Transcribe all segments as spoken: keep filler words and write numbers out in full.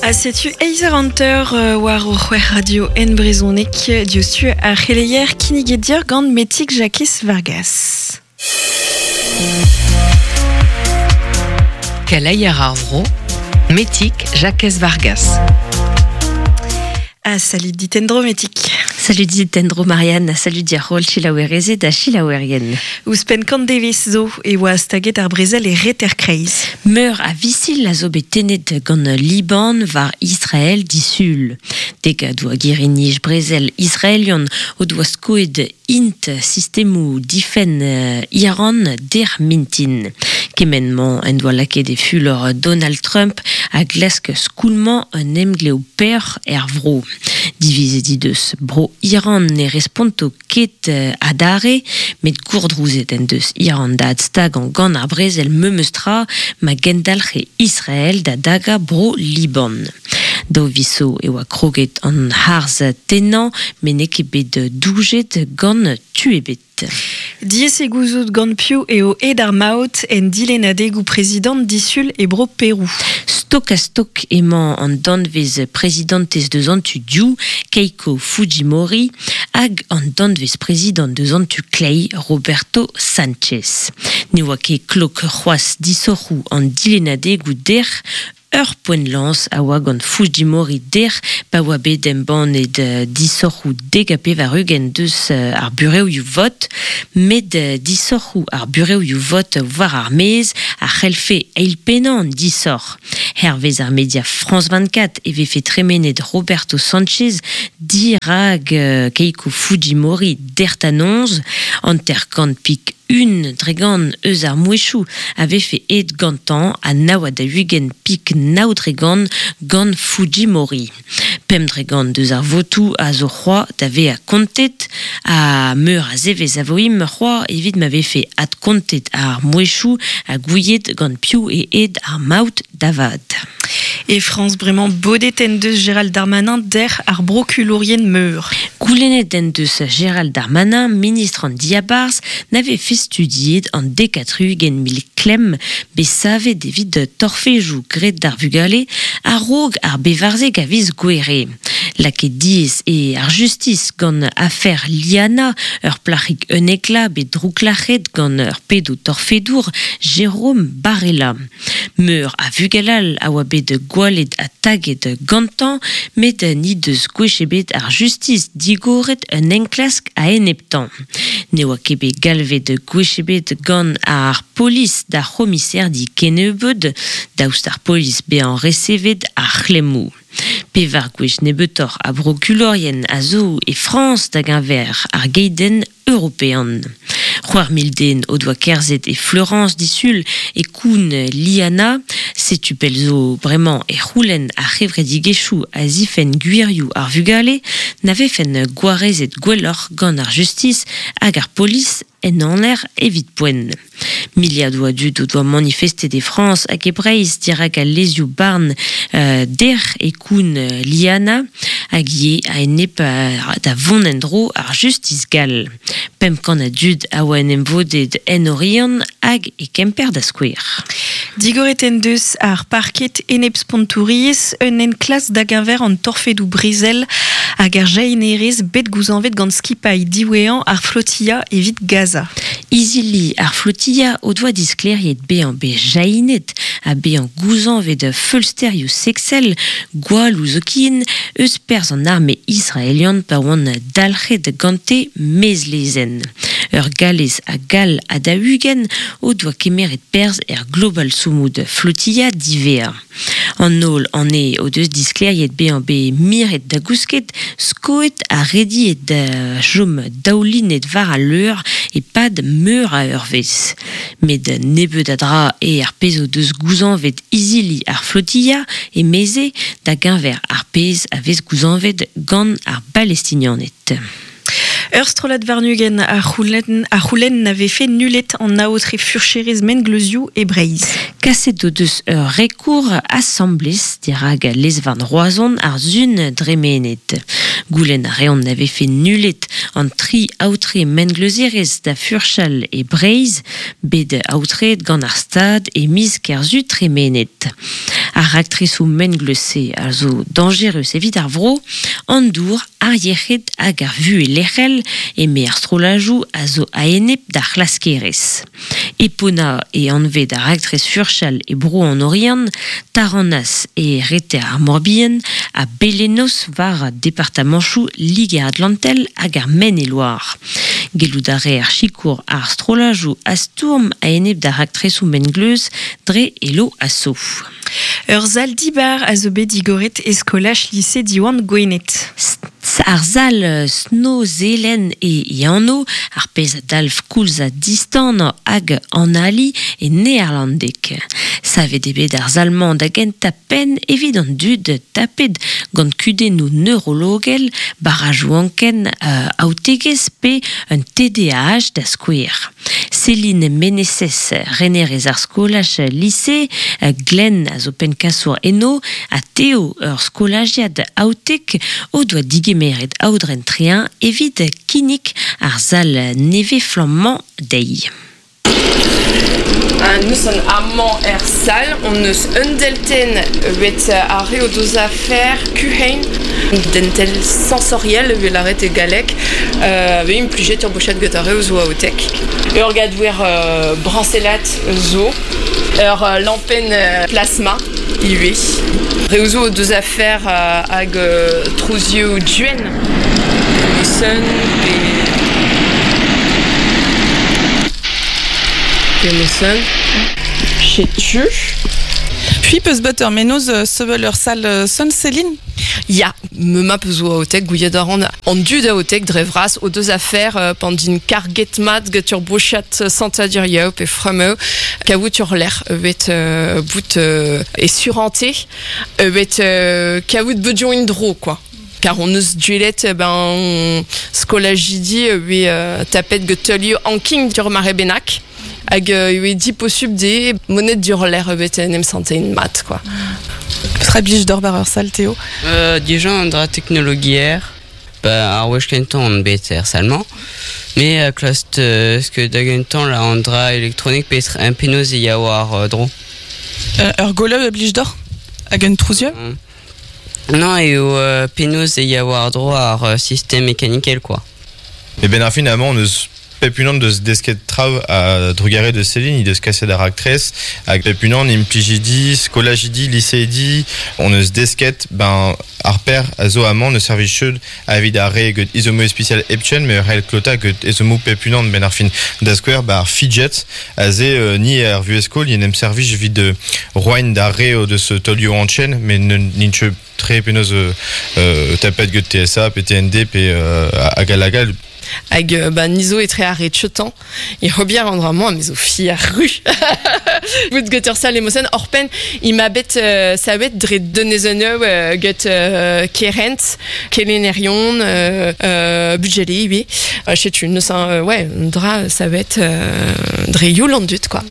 A setu eizer hanter euh, war o c'hwec'h radio en brezhoneg diouzhtu ar c'heleier kinniget dir gant Metig Jakez Vargas. Keleier ar vro, Metig Jakez Vargas. Ah, salut dit en-dro Metig. Salut dit en-dro Marianne, salut dir holl selaouerezed ha selaouerien. Ouzhpenn kant devezh zo e oa staget ar brezel e reter kreiz. Meur a visil a zo bet tennet gant Liban war Israel disul. Degadoù a girri-nij brezel israelian o doa skoet int sistemoù difenn Iran dec'h mintin. Kement-mañ en doa lakaet e fulor Donald Trump a glask skoulmañ un emglev peoc'h er vro. Divizet he deus bro Iran ne responto ket adarre, met gourdrouzet en deus Iran da adstagañ gant ar brezel memes tra ma gendalc'he Israel da dagañ bro Liban. Daou viz zo e oa kroget an harz tennañ, met n'eo ket bet doujet gant tu ebet. Diaes eo gouzout gant piv eo aet ar maout en dilennadegoù prezidant disul e bro Perou. Stok ha stok emañ an danvez prezidantez deus an tu dehoù, Keiko Fujimori, hag an danvez prezidant deus an tu kleiz, Roberto Sanchez. Ne oa ket klok c'hoazh disoc'hoù an dilennadegoù dec'h, ur poent lañs a oa gant Fujimori dec'h pa oa bet embannet disoc'hoù dek ha pevar-ugent deus ar burevioù vot, met disoc'hoù ar burevioù vot war ar maez a c'hellfe eilpennañ an disoc'h. Hervez ar media France vingt-quatre e vefe tremenet Roberto Sanchez dirak Keiko Fujimori dec'h da noz, hanter-kant pik un dre gant eus ar mouezhioù a vefe aet gantañ ha nav ha daou-ugent pik nav dre gant gant Fujimori. Pemp dre gant deus ar votoù a zo c'hoazh da vezañ kontet ha meur a zevezh a vo im c'hoazh evit ma vefe adkontet ar mouezhioù ha gouiet gant piv eo aet ar maout da vat. E Frañs bremañ bodet en deus Gérald Darmanin dec'h ar brokulourien meur. Goulennet en deus Gérald Darmanin, ministr an diabarzh, na vefe studiet an dek ha tri-ugent mil klemm bet savet evit torfedoù graet d'ar vugale a-raok ar bevarzek a viz Gouhere. Lakaet diaes eo ar justis gant afer Liana, ur plac'hig unnek vloaz bet drouklac'het gant ur pedo torfedour Jérôme Barella. Meur a vugale all a oa bet gwallet ha taget gantañ, met n'he deus gwech ebet ar justis digoret un enklask a-eneptañ. Ne oa ket bet galvet gwech ebet gant ar polis d'ar c'homiserdi kennebeut, daoust ar polis bezañ resevet ar c'hlemmoù. Pevar gwech nebeutoc'h a brokulourien a zo e Frañs da geñver ar geidenn european. C'hwec'h mil den o doa kerzhet e Fleurance disul e koun Liana, setu pell zo bremañ e c'houlenn ar c'hevredigezhioù a zifenn gwirioù ar vugale na vefen gwarezet gwelloc'h gant ar justis hag ar polis en aner evit poent. Miliadoù a dud o doa manifestet e Frañs hag e Breizh dirak al lezioù barn euh, dec'h e koun Liana hag ivez a-enep da vont en-dro ar justis gall. Pemp kant a dud a oa en em vodet en Oriant hag e Kemper da skouer. Digoret en deus ar parket enep-spontouriezh un enklask da geñver an torfedoù brezel hag ar jahinerezh bet gouzañvet gant skipailh diwezhañ ar flotilla evit Gaza. Izili ar flotilla o doa disklêriet bezañ bet jahinet ha bezañ gouzañvet feulsterioù seksel gwalloù zoken eus perzh an arme israelian pa oant dalc'het gante maez-lezenn. Ur Gallez ha Gall ha daou-ugent o doa kemeret perzh er Global Sumud Flotilla diwezhañ. An holl anezhe o deus disklêriet bezañ bet miret da gousket, skoet ha rediet da chom daoulinet war al leur e-pad meur a eurvezh. Met nebeut a dra eo ar pezh o deus gouzañvet izili ar flotilla emeze da geñver ar pezh a vez gouzañvet gant ar Balestinianed. Ur strollad warn-ugent a c'houlenn a c'houlenn na vefe nullet an aotre furcherezh mengleuzioù e Breizh. Kaset o deus ur rekour asambles dirak lez-varn Roazhon ar sun dremenet. Goulenn a reont na vefe nullet an tri aotre mengleuzerezh da furchal e Breizh, bet aotreet gant ar Stad e miz Kerzu tremenet. Ar raktresoù mengleuz-se a zo dañjerus evit ar vro, an dour, ar yec'hed hag ar vuhez lec'hel eme ar strollajoù a zo a-enep d'ar c'hlaskerez. Epona e anvet ar raktres furchal e bro an Oriant, Taranas e reter ar Morbihan, ha Belenos war departamanchoù Liger-Atlantel hag ar Maine-et-Loire. Gellout a reer sikour ar strollajoù a stourm a-enep d'ar raktresoù mengleuz dre elo aso. Ur sal dibar a zo bet digoret e skolaj lise Diwan Gwened. Ar sal Snoezelen e Iano, ar pezh a dalv koulz a distan hag an ali e neerlandek. Savet eo bet ar sal-mañ da gentañ penn evit an dud tapet gant kudennoù neurologel, barrajoù anken euh, aotegezh pe un T D A H da skouer. Céline Meneses, renerez ar skolaj lise, Glenn a zo penn-kasour eno, ha Théo, ur skolajiad aotek, o doa digemeret aodren trein evit kinnig ar sal nevez flammañ dezhi. Nous an amañ er sal, on eus un delten bet ar re o deus afer kuhein, dentel sensoriel vel arret e galek, euh, ve implijet ur bochet get ar re o zo aotek. Ur gadouer euh, brancelat zo, ur euh, lampen euh, plasma ivez. Re o zo o deus afer euh, hag euh, trouzioù duen. Sun pe... Pemosen. Chetu. Puis peus bet ur menoz sevel ur sal son Céline? Ya, me ma peus oa aotek, gouiet a ran an dud aotek dre vras o deus afer euh, pandin karget mat get ur bochat santadur yaou pe fremeu kaout ur lec'h evet euh, bout euh, e surante evet euh, kaout bedion indro quoi. Car on eus duelet ben skolajidi euh, euh, tapet get teulioù anking ur mare benak. Hag euh, di posub de monet dur l'air bet en em santé une mat quoi. Petra blij d'or bar ur sal Théo? Euh, Dijon an dra teknologier, ba ar wech kentañ an bet er salmañ. Me a klast euh, ce que da gentañ la an dra elektronik pe un penoz e ya war euh, dro. Euh, ur goleu e blij d'or? Hag un trouzioù? Mm. Non, eo euh, penoz e ya war dro ar euh, système mécanikel quoi. Et ben ar finalement on eus Pepunan deus desket trav a drugare de Céline, il deus kaset ar aktrez, hag Pepunan implijidi, skolajidi, liseidi, on eus desket, ben ar per a zo amañ ne servij cheud evit ar re get izomo spécial epchen, me rel klota get izomo Pepunan ben ar fin da skouer ba ar fidget, a ze euh, ni ar vueskol, ni nem servij evit de roain d'ar re deus tolio anchen, mais n'int tre penoz euh, euh, tapet get T S A, P T N D, pe euh, hag alagal. Hag ba nizo etre ar re tchetan, e hobier an dra mañ, mezo fi ar ru. Bout get ur sal emosen, orpen, i ma bet euh, sa bet dre donezoneu euh, get euh, kerent, kelenerion, euh, euh, budgeli, oui. Euh, chetu, neus an, euh, ouais, dra sa bet euh, dre youl an dut, quoi.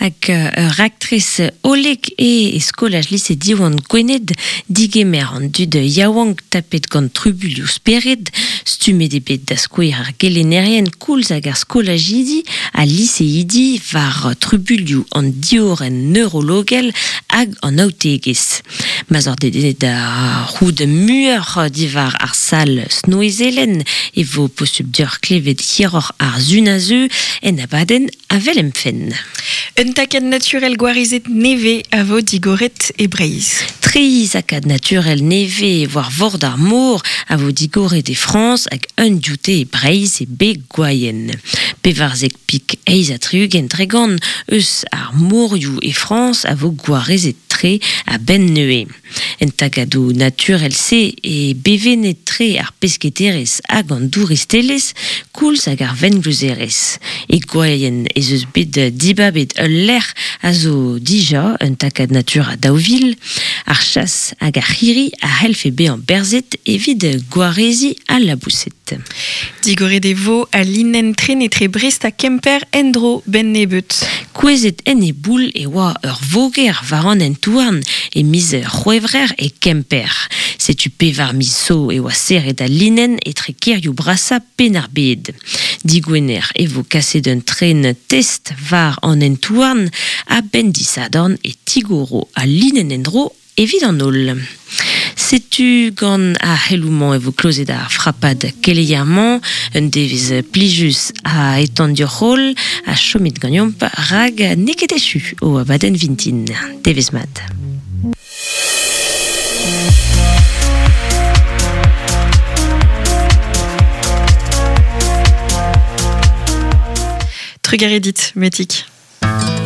Hag ur raktres olek e e skolaj lise Diwan Gwened digemer an dud yaouank tapet gant trubulioù spered, stummet eo bet da skouer ar gelennerien koulz hag ar skolajidi ha liseidi war trubulioù an diorenn neurologel hag an aotegezh. Ma'z ur dedennet da c'houd muioc'h diwar ar sal Snoezelen e vo posubl deoc'h klevet hiroc'h ar zun a zeu en abadenn avel emfenn. Un takad naturel gwarizet neve a vo digoret e Breizh. Tri zakad naturel neve war vord ar mor a vo digoret e Frañs hag un dioute e Breizh e be Gwaien. Pevarzek pik eiz ha tri-ugent tregont eus ar morioù e Frañs a vo gwarezet tre a benn neue. En tagadoù naturel se e bevenet tre ar pesketerez hag an douristelez koulz hag ar vengleuzerez. E Gwaien ez eus bet dibabet ul lec'h a zo dija un takad natur a daou vil, ar chas hag ar c'hirri a c'hellfe bezañ berzet evit gwarezi al labouset. Digoret e vo a linenn tren etre Brest ha Kemper endro ben nebeut. Kouezet en e boul e oa ur voger war an hent-houarn e miz C'hwevrer e Kemper. Setu pevar miz zo e oa serret al linenn etre kêrioù brasañ Penn-ar-Bed. Digwener e vo kaset un tren test var an entouarn a ben disadorn e tigoro a linen endro evit an ol. Setu gant a c'heloumañ e vo klozet ar frapad keleier-mañ, un devez plijus a etan dioc'h a chomit ganeomp rag neket echu o abadenn vintin. Devez mat. Trugaredit, Metik.